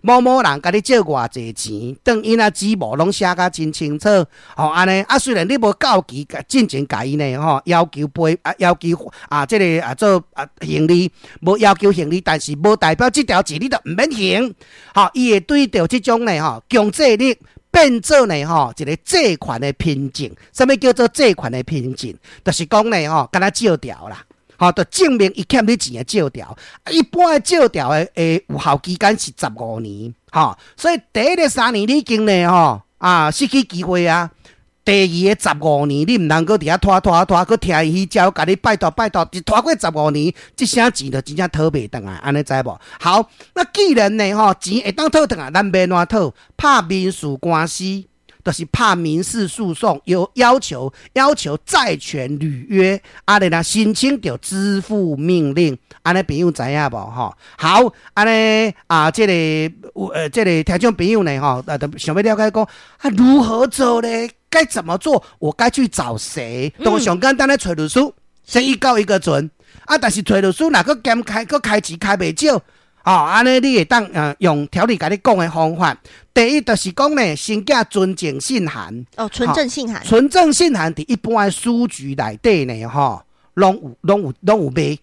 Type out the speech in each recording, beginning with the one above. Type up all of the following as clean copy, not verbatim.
某某人共你借偌濟錢，當印仔紙無攏寫甲真清楚，吼按呢啊，雖然你無到期進前共伊呢吼，要求賠啊，要求啊，這个啊做啊還利，無要求還利，但是無代表這條錢你就毋免還，吼，伊會對著這種呢吼強制力變做呢吼一个借款的憑證。啥物叫做借款的憑證？就是講呢吼，敢若借條啦。吼，就證明伊欠你錢的借條。一般的借條的有效期間是15年，吼，所以第一个3年你已經呢吼啊失去機會啊。第二个十五年，你毋通閣佇遐拖拖拖，閣聽伊彼招，共你拜託拜託，一拖過十五年，這聲錢就真正討袂轉來，按呢知無？好，那既然呢吼錢會當討轉來，咱欲按怎討？拍民事官司，就是拍民事訴訟，有要求債權履約，啊，然後申請著支付命令，按呢朋友知影無？吼，好，按呢啊，這個聽眾朋友呢，吼，啊，想欲了解講啊，如何做咧？該怎麼做？我該去找誰？都上簡單的揣律師，先一告一個準。啊，但是揣律師若閣兼開，閣開錢開袂少，哦，按呢你會當用條例共你講的方法。第一就是講呢，先寄存證信函。哦，存證信函。存證信函佇一般的書局內底呢，吼，攏有賣。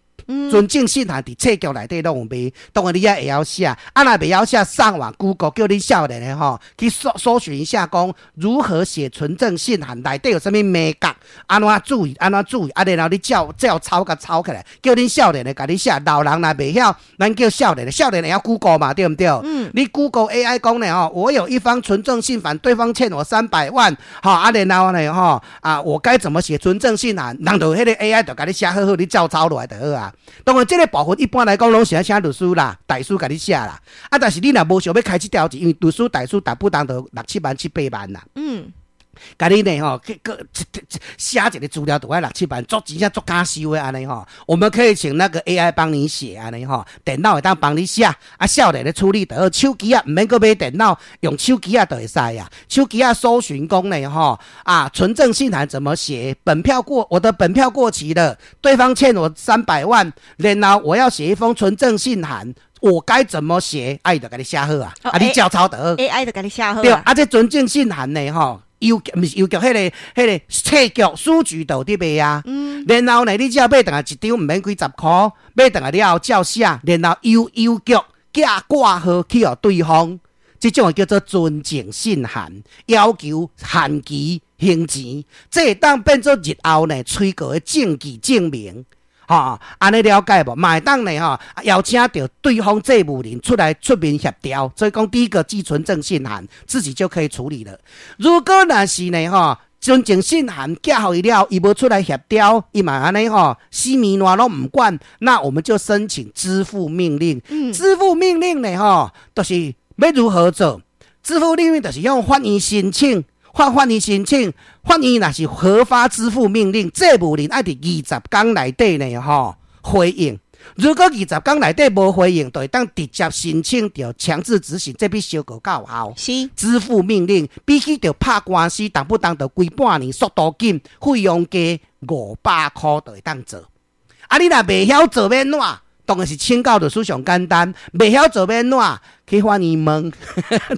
存證信函佇冊局內底攏有賣，當然你也會曉寫，啊若袂曉寫，上網 Google 叫恁少年的吼去搜尋一下，講如何寫存證信函，內底有啥物眉角，按怎注意，按怎注意，啊然後你照照抄共抄起來，叫恁少年的共你寫，老人若袂曉，咱叫少年的，少年會曉 Google 嘛，對毋對？嗯。你 Google AI 講呢吼，我有一方存證信函，對方欠我300萬，吼啊然後呢吼啊，我該怎麼寫存證信函？人就彼個 AI 就共你寫好好，你照抄落來就好啊。當然，這個部分一般來講攏是愛請律師啦、大師共你寫啦。啊，但是你若無想欲開這條錢，因為律師、大師逐不當都六七萬、七八萬啦。共你呢吼，去閣寫一個資料都愛六七萬，足真正足敢收的按呢吼。我們可以請那個 AI 幫你寫按呢吼，電腦會當幫你寫，啊，少年咧處理就好。手機仔毋免閣買電腦，用手機仔就會使啊。手機仔搜尋講呢吼，啊，存證信函怎麼寫？本票過，我的本票過期了，對方欠我三百萬，然後我要寫一封存證信函。我該怎麼寫？啊，伊就共你寫好啊，啊，你照抄就好。 AI 就共你寫好。對，啊，這存證信函呢，吼，郵局毋是郵局，彼個冊局書局都有佇賣啊。然後呢，你只要買轉來一張，毋免幾十箍，買轉來了後照寫，然後郵郵局寄掛號去予對方，這種叫做存證信函，要求限期還錢，這會當變做日後呢催告的證據證明。吼，按呢了解無？嘛會當呢吼，邀請著對方債務人出來出面協調，所以講第一個寄存證信函，自己就可以處理了。如果若是呢吼，存證信函寄予伊了，伊無出來協調，伊嘛按呢吼，死命爛攏毋管，那我們就申請支付命令。支付命令呢吼，就是欲如何做？支付命令就是向法院申請。法院申請，法院若是核發支付命令，債務人愛佇20天內底呢，吼回應。如果二十天內底無回應，就會當直接申請著強制執行，這比相告較有效。支付命令比起著拍官司，動不動就規半年，速度緊，費用加500箍就會當做。啊，你若袂曉做欲按怎？當然是請教律師上簡單，袂曉做欲按怎？去法院問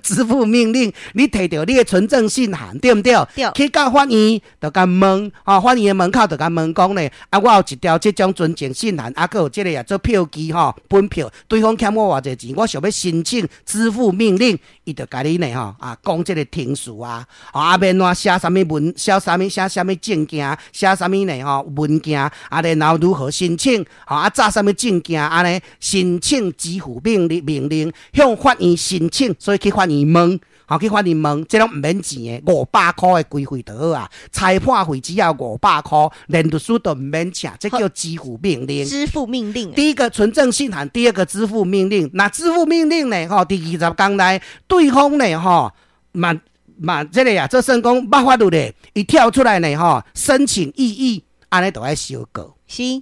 支付命令，你提著你的存證信函，對毋對？對。去到法院就共問，吼，法院的門口就共問講咧，啊，我有一條這種存證信函，啊，閣有這個也做票據吼，本票，對方欠我偌濟錢，我想欲申請支付命令，伊就共你呢吼，啊，講這個程序啊，啊，欲按怎寫啥物文，寫啥物寫啥物證件，寫啥物呢吼文件，啊，然後如何申請，吼，啊，紮啥物證件，按呢申請支付命令，向法院申請，所以去法院問，吼，去法院問，這攏毋免錢的，五百箍的規費就好啊。裁判費只要五百箍，連律師都毋免請，這叫支付命令。支付命令。第一個存證信函，第二個支付命令。那支付命令呢？吼，佇20天內，對方呢？吼，嘛嘛，這個啊，這算講無法度的，伊跳出來呢，吼，申請異議，按呢就愛相告。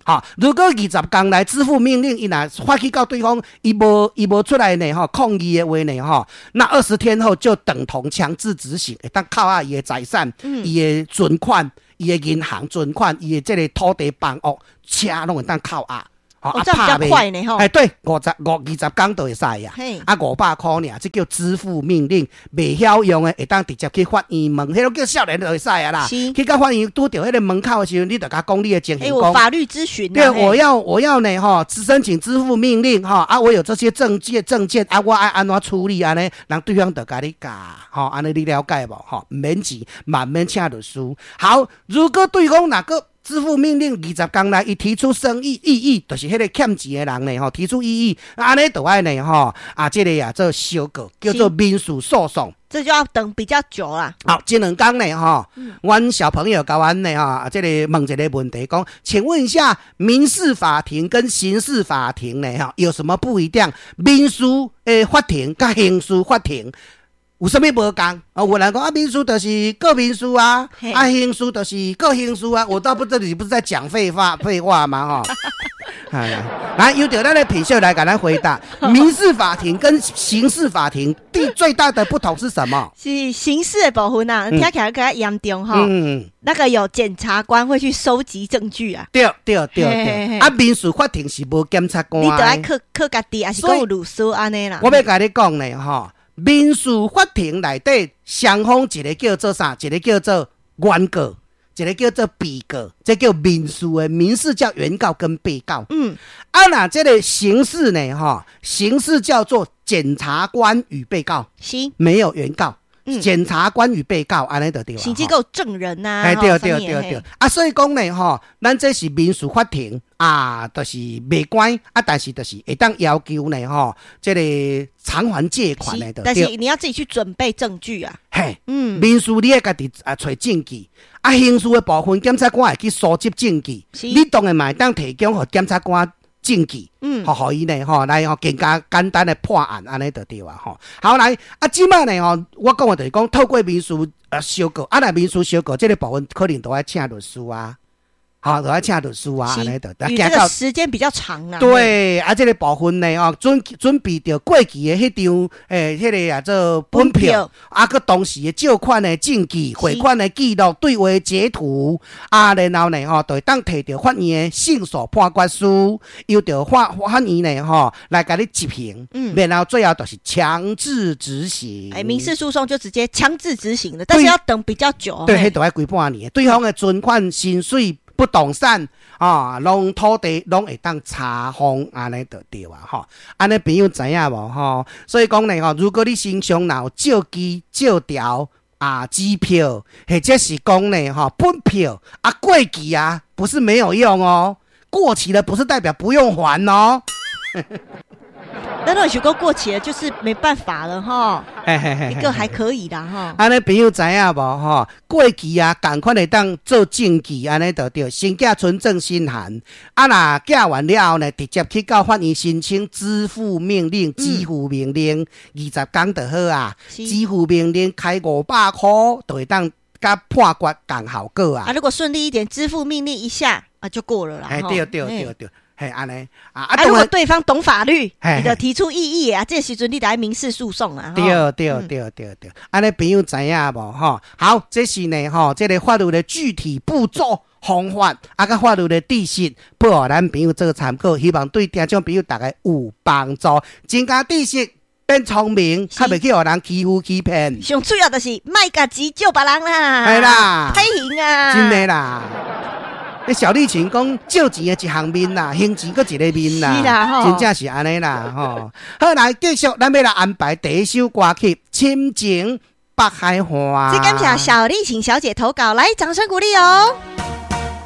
吼，如果二十天內支付命令，伊若發去到對方，伊無出來呢，吼，抗議的話呢，吼，那20天後就等同強制執行，會當扣押伊的財產、伊的存款、伊的銀行存款、伊的這個土地、房屋、車，攏會當扣押。吼。哦，這樣比較快呢吼。哎，對，50、5、20工就會使啊。啊，500箍爾，這叫支付命令，袂曉用的會當直接去法院問，彼個叫少年就會使啊啦。去到法院拄著彼個門口的時陣，你就共講你的情形。欸，我法律諮詢。對，我要呢吼，申請支付命令吼，啊，我有這些證件啊，我愛按怎處理按呢？人對方就共你教，吼，按呢你了解無？吼，毋免錢，嘛毋免請律師。好，如果對方若閣支付命令20工內，伊提出申議異議，就是彼個欠錢的人呢，吼，提出異議，按呢就愛呢，吼，啊，這個啊做相告，叫做民事訴訟。這就要等比較久啦。好，這兩工呢，吼，阮小朋友共阮呢，吼，這個問一個問題，講，請問一下，民事法庭跟刑事法庭呢，吼，有什麼不一樣？民事的法庭佮刑事法庭有啥物無仝？啊，有人講啊，民事就是告民事啊，啊，刑事就是告刑事啊。我倒不知你不是在講廢話嗎？吼，哎，來，由著咱的品秀來共咱回答，民事法庭跟刑事法庭第最大的不同是什麼？是刑事的部分啊，聽起來較嚴重哈。那個有檢察官會去收集證據啊。對對對對，啊，民事法庭是無檢察官，你著愛靠靠家己，抑是講有律師按呢啦。我欲共你講呢，吼。民事法庭內底，雙方一個叫做啥？一個叫做原告，一個叫做被告，這叫民事的。民事叫原告跟被告。啊，若這個刑事呢？吼，刑事叫做檢察官與被告，沒有原告。檢察官與被告按呢就對。甚至閣有證人吶。哎，對對對對。啊，所以講呢，吼，咱這是民事法庭啊，就是袂關啊，但是就是會當要求呢，吼，這個償還借款的。但是你要自己去準備證據啊。嘿，民事你愛家己啊揣證據，啊，刑事的部分，檢察官會去收集證據，你當然嘛會當提供予檢察官證據，予伊呢，吼，來吼更加簡單的破案，按呢就對啊，吼。好來，啊，這擺呢，吼，我講的就是講透過民事相告，啊，若民事相告這個部分可能都愛請律師啊。好，就愛請律師啊，按呢就，這個時間比較長啊。對，啊，這個部分呢，哦，準備著過期的彼張，欸，彼個啊做本票，啊，閣當時的借款的證據、匯款的記錄、對話截圖，啊，然後呢，吼，就會當提著法院的勝訴判決書，由著法院呢，吼，來共你執行。然後最後就是強制執行。欸，民事訴訟就直接強制執行了，但是要等比較久。對，彼著愛規半年。對方的存款、薪水、不動產啊，攏土地攏會當查封，按呢就對啊，吼。按呢朋友知影無吼？所以講呢，吼，如果你身上若有借據、借條啊、支票，或者是講呢，吼，本票啊，過期啊，不是沒有用哦，過期了不是代表不用還哦。那如果過期了，就是沒辦法了哈。一個還可以啦哈。按呢朋友知影無吼？過期啊，仝款會當做證據，按呢就對。先寄存證信函，啊若寄完了後呢，直接去到法院申請支付命令、支付命令，20工就好啊。支付命令開500箍，就會當佮判決仝效果啊。啊，如果順利一點，支付命令一下啊，就過了啦。哎，對對對對。嘿，按呢啊！啊，如果對方懂法律，你就提出異議啊，這時陣你就愛民事訴訟啊。對對對對對，按呢朋友知影無吼？好，這是呢吼，這個法律的具體步驟方法，啊，佮法律的知識，予咱朋友做參考，希望對聽眾朋友逐家有幫助，增加知識，變聰明，較袂去予人欺負欺騙。上主要就是莫共錢借別人啦，係啦，歹還啊，真的啦。那小麗琴講借錢的一項面啦，還錢閣一個面啦，是啦吼，真正是按呢啦吼。好，來繼續，咱欲來安排第一首歌曲《深情北海岸》。這感謝小麗琴小姐投稿，來掌聲鼓勵哦。